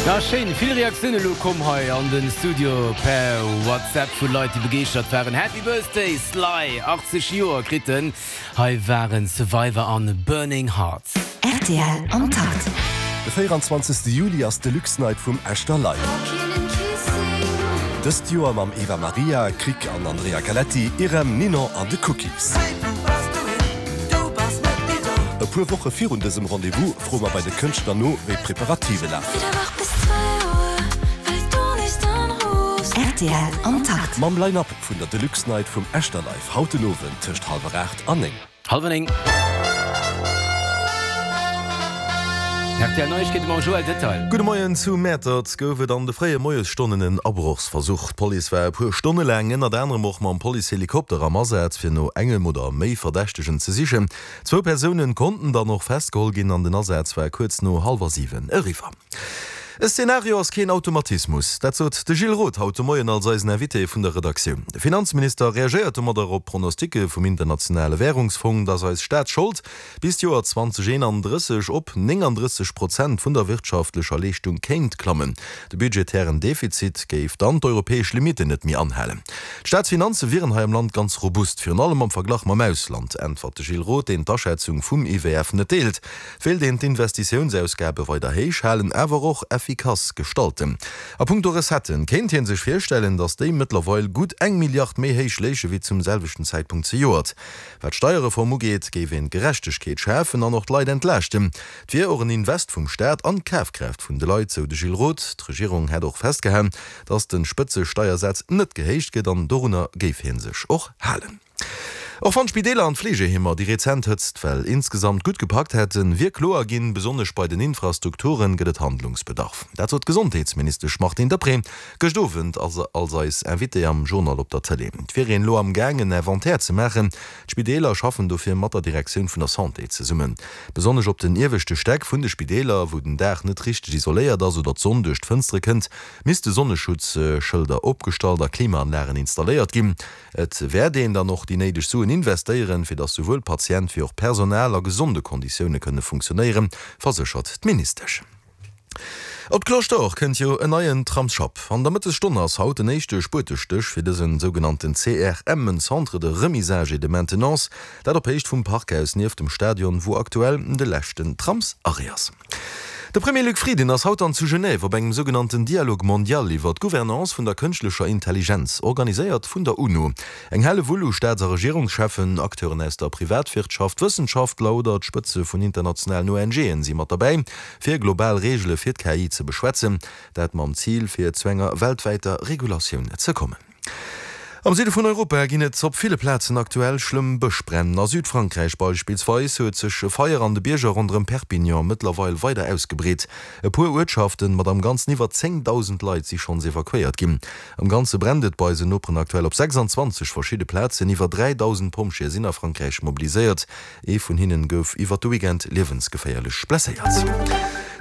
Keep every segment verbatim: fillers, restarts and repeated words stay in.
Ja schéin, vill Reaktioune lo komm hei an den Studio per WhatsApp vu Leit déi begeeschtert waren. Happy Birthday Sly, achtzeg Joer kritt en. Hei waren Survivor an Burning Hearts. Rtl am Takt. De véieranzwanzegste Juli ass d'Deluxe Night vum Echter Live. Dëst Joer mam Eva Maria, Krik an Andrea Galetti, Irem, Ninon an de Cookies. E puer Woche virun dësem Rendez-vous froe mer bei de Kënschtler no, wéi d'Preparative lafen. Rtl am Takt. Mam Line-Up vun der Deluxe Night vum Echter Live haut den Owend tëscht hallwer aacht an néng. Hallwer néng. R T L Neiegkeete mam Joël Detail. Gudde Moien, Zu Mäertert gouf et an de fréie Moiesstonnen en Abrochsversuch. D'Police war e puer Stonne laang ënnert anerem och mam Policehelikopter am Asaz, fir no engem oder méi Verdächtegen ze sichen. Zwou Persounen konnten dann och festgeholl ginn an den Asaz war kuerz no hallwer siwen eriwwer. E Szenario ass keen Automatismus, dat sot de Gilles Roth haut de Moien als eisen Invité vun der Redaktioun. De Finanzminister reagéiert domadder op Pronosticke vum Internationale Wärungsfong, datt eis Staatsschold bis d'Joer zweedausendeenandrësseg op néngandrësseg Prozent vun der wirtschaftlecher Leeschtung kéint klammen. De budgetären Defizit géif dann d'europäesch Limitten net méi anhalen. D'Staatsfinanze wieren hei am Land ganz robust, virun allem am Verglach mam Ausland, äntwert de Gilles Roth, deen d'Aschätzung vum I W F net deelt. Et wéilt een d'Investitiounsausgabe weider héich halen, awer och effikass gestalten. A punkto Recetten kéint hie sech virstellen, datt déi mëttlerweil gutt eng Milliard méi héich léiche wéi zum selwechten Zäitpunkt zejoert. Wat d'Steierreform ugeet, géif een Gerechtegkeet schafen an och d'Leit entlaaschten. Et wier och en Invest vum Staat an d'Kafkraaft vun de Leit, sou de Gilles Roth. D'Regierung hätt och festgehalen, datt de Spëtzesteiersaz net gehéicht gëtt an dorunner géif hie sech och halen. Och wann d'Spideeler an d'Fleegeheemer déi rezent Hëtztwell insgesamt gutt gepackt hätten, wier kloer ginn, besonnesch bei den Infrastrukture gëtt et Handlungsbedarf. Dat sot d'Gesondheetsministesch Martine Deprez gëscht Owend als eis Invitée am Journal op der Tëlee. Et wier een elo am Gaang en Inventaire ze maachen. D'Spideeler schaffen dofir mat der Direktioun vun der Santé zesummen. Besonnesch op den ieweschte Stäck vun de Spideeler, wou den Daach net richteg isoléiert ass oder d'Sonn duerch d'Fënstere kënnt, misste Sonneschutzschëlder opgestallt a Klimaanlagen installéiert ginn. Et wäert een dann och déi néideg Suen investéieren, fir datt souwuel Patient wéi och Personal a gesonde Konditioune kënne funktionéieren, verséchert d'Ministesch. Op d'Cloche d'Or kënnt jo en neien Tramsschapp. An der Mëttesstonn ass haut den éischte Spuetestéch fir dësen sougenannten C R M, en Centre de remisage et de maintenance, dat op Héicht vum Parkhaus nieft dem Stadion, wou aktuell de leschten Tramsarrêt ass. De Premier Luc Frieden ass haut dann zu Genève op engem sougenannten Dialogue mondial iwwer d'Gouvernance vun der kënschtlecher Intelligenz, organiséiert vun der UNO. Eng Hellewull u Staats a Regierungscheffen, Acteuren aus der Privatwirtschaft, Wëssenschaftler oder d'Spëtze vun internationalen O N G'en si mat derbäi, fir global Reegele fir d'K I ze beschwätzen, dat mam Zil fir zu enger weltwäiter Regulatioun ze kommen. Am Süde vun Europa ginn et op ville Plazen aktuell schlëmm Bëschbränn. A Südfrankräich beispillsweis huet sech e Feier an de Bierger ronderëm Perpignan mëttlerweil weider ausgebreet. E puer Uertschaften mat am Ganzen iwwer zéngdausend Leit si schonns evakuéiert ginn. Am Ganze brennt et bei eisen Noperen aktuell op sechsanzwanzeg verschidde Plazen. Iwwer dräidausend Pompjeeë sinn a Frankräich mobiliséiert. Ee vun hinnen gouf iwwer de Weekend liewensgeféierlech blesséiert.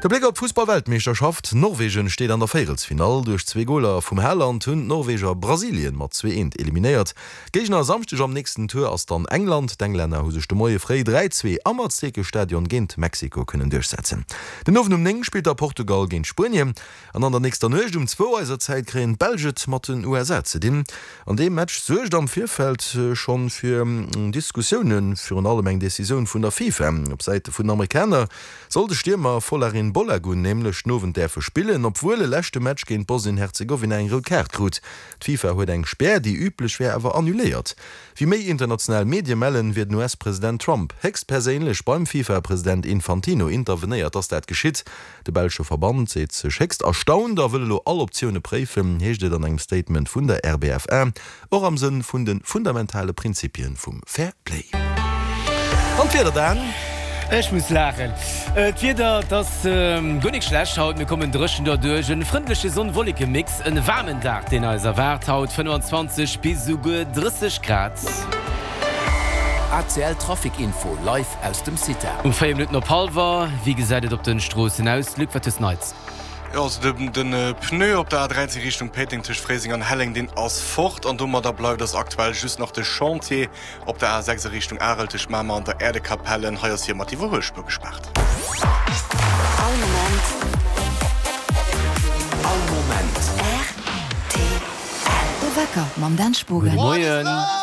De Bléck op d'Fussballweltmeeschterschaft, Norwegen steet an der Véierelsfinall. Duerch zwee Goler vum Haaland hunn d'Norweger Brasilien mat zwee eent eliminéiert. Géigner e Samschdeg am nächsten Tour ass dann England. D'Englänner hu sech de Moie fréi dräi zwee am Aztekestadion géint Mexiko kënnen duerchsetzen. Den Owend um néng spillt da Portugal géint Spuenien an an der nächster Nuecht um zwou eiser Zäit kréien d'Belsch et mat den U S A ze dinn. An deem Match suergt am Virfeld schonn fir Diskussiounen, virun allem eng Decisioun vun der FIFA. Op Säite vun den Amerikaner soll de Stiermer Folarin Balogun nämlech den Owend däerfe spillen, obwuel e leschte Match géint Bosnien-Herzegowina eng rout Kaart krut. D'FIFA huet eng Spär, déi üblech wär, awer annuléiert. Wéi méi international Medie mellen, wier den U S-President Trump héchstperséinlech beim FIFA-President Infantino intervenéiert, dass dat geschitt. De belsche Verband seet sech héchst erstaunt a wëll elo all Optioune préifen, heescht et an engem Statement vun der R B F A, och am Sënn vun de fundamentale Prinzipien vum Fair Play. An d'Wieder dann? Ech muss laachen. D'Wieder, 't ass guer nik schlecht haut. Mir kommen dréchen derduerch. En frëndleche Sonn-Wolleke-Mix, en waarmen Dag, deen eis erwaart haut, fënnefanzwanzeg bis esouguer drësseg Grad. A C L Trafic Info live aus dem CITA. Um véier Minutten op hallwer, wéi gesäit et op den Stroossen aus? Luc, wat hues Neits? Jo, also den den Pneu op der A dräizéng Richtung Péiteng tëscht Fréiseng an Helleng, deen ass fort an domadder bleift ass aktuell just nach de Chantier op der A sechs a Richtung Arel tëscht Mamer an der Äerdekapellen. Hei ass hir mat Iwwerhuelspuer gespaart. All Moment De Wecker mam Dan Spogen. Gudde Moien.